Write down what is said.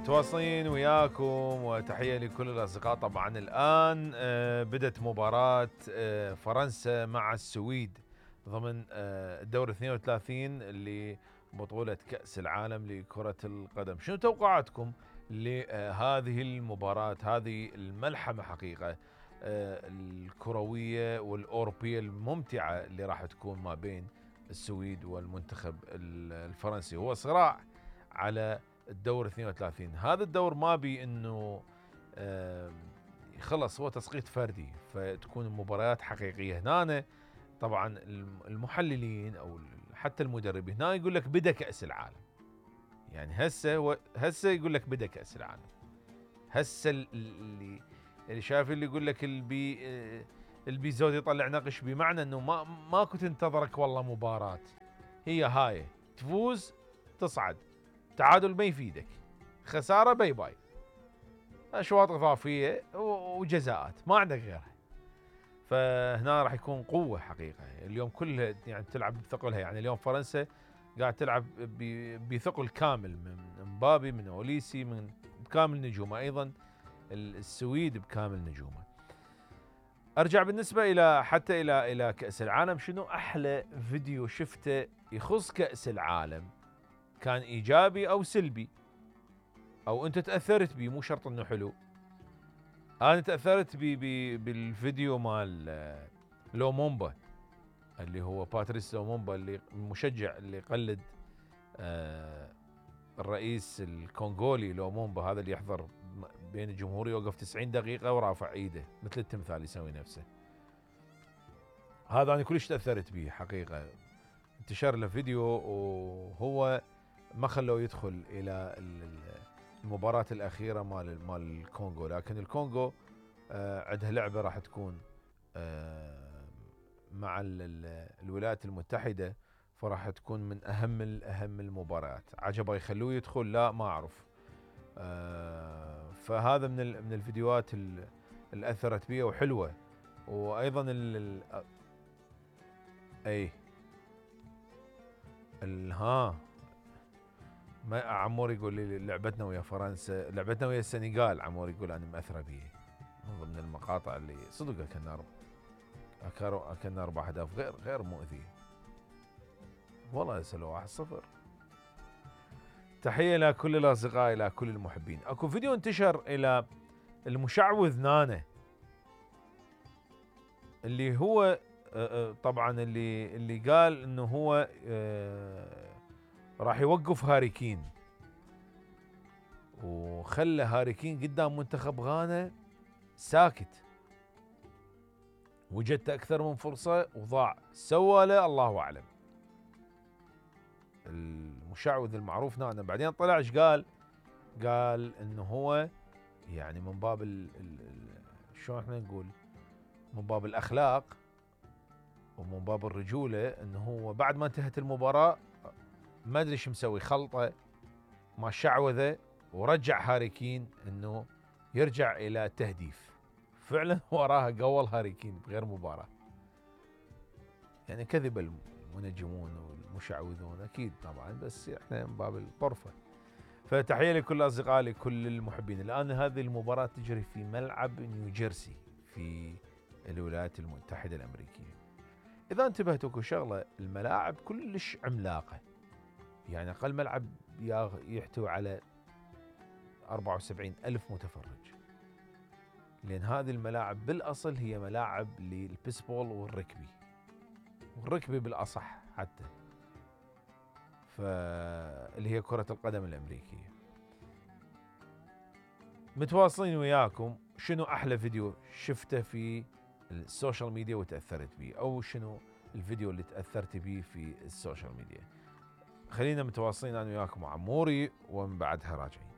متواصلين وياكم وتحية لكل الأصدقاء. طبعا الآن بدت مباراة فرنسا مع السويد ضمن الدور 32 لبطولة كأس العالم لكرة القدم. شنو توقعاتكم لهذه المباراة، هذه الملحمة حقيقة الكروية والأوروبية الممتعة اللي راح تكون ما بين السويد والمنتخب الفرنسي؟ هو صراع على الدور 32. هذا الدور ما بي انه خلص هو تسقيط فردي، فتكون المباريات حقيقية. هنا طبعا المحللين او حتى المدربين هنا يقول لك بدا كأس العالم، يعني هسه يقول لك بدا كأس العالم. هسه اللي شايف اللي يقول لك البي زود يطلع نقش، بمعنى انه ماكو تنتظرك والله مباراة، هي هاي تفوز تصعد، تعادل ما يفيدك، خسارة باي باي، اشواط اضافية وجزاءات، ما عندك غيرها. فهنا راح يكون قوة حقيقة اليوم كلها، يعني تلعب بثقلها. يعني اليوم فرنسا قاعد تلعب بثقل كامل، من مبابي، من اوليسي، من بكامل نجومه، ايضا السويد بكامل نجومه. ارجع بالنسبة الى كأس العالم، شنو احلى فيديو شفته يخص كأس العالم، كان ايجابي او سلبي او انت تأثرت به، مو شرط انه حلو. انا تأثرت بالفيديو مال لومومبا، اللي هو باتريس لومومبا، اللي المشجع اللي يقلد الرئيس الكونغولي لومومبا، هذا اللي يحضر بين الجمهور يوقف 90 دقيقة ورافع ايده مثل التمثال يسوي نفسه. هذا انا كلش تأثرت به حقيقة. انتشر له فيديو وهو ما خلوه يدخل الى المباراة الأخيرة مال الكونغو، لكن الكونغو عندها لعبة راح تكون مع الولايات المتحدة، فراح تكون من أهم المباريات. عجبه يخلوه يدخل؟ لا ما أعرف. فهذا من الفيديوهات اللي أثرت بي وحلوة. وأيضا ما عمور يقول لي لعبتنا ويا فرنسا، لعبتنا ويا السنغال، عمور يقول انا مأثرة به. من ضمن المقاطع اللي صدق اكلنا 4 اهداف غير مؤذية، والله سلوا 1-0. تحية لكل الاصدقاء، الى كل المحبين. اكو فيديو انتشر الى المشعوذ نانا، اللي هو طبعا اللي قال انه هو راح يوقف هاري كين، وخلى هاري كين قدام منتخب غانا ساكت. وجدت اكثر من فرصة وضاع، سوى له الله اعلم. المشعوذ المعروف نانا بعدين طلع ايش قال؟ قال انه هو يعني من باب شلون احنا نقول، من باب الاخلاق ومن باب الرجولة، انه هو بعد ما انتهت المباراة ما ادري ايش مسوي، خلطه ما شعوذه ورجع هاري كين انه يرجع الى التهديف. فعلا وراها قول هاري كين بغير مباراة. يعني كذب المنجمون والمشعوذون اكيد طبعا، بس احنا من باب الطرفة. فتحية لكل اصدقائي، لكل المحبين. الان هذه المباراة تجري في ملعب نيوجيرسي في الولايات المتحدة الامريكية. اذا انتبهتوا كل شغلة، الملاعب كلش عملاقة، يعني أقل ملعب يحتوي على 74,000 متفرج، لأن هذه الملاعب بالأصل هي ملاعب للبيسبول والركبي بالأصح حتى، اللي هي كرة القدم الأمريكية. متواصلين وياكم. شنو أحلى فيديو شفته في السوشيال ميديا وتأثرت به، أو شنو الفيديو اللي تأثرت به في السوشيال ميديا؟ خلينا متواصلين انا وياكم عموري، ومن بعدها راجعين.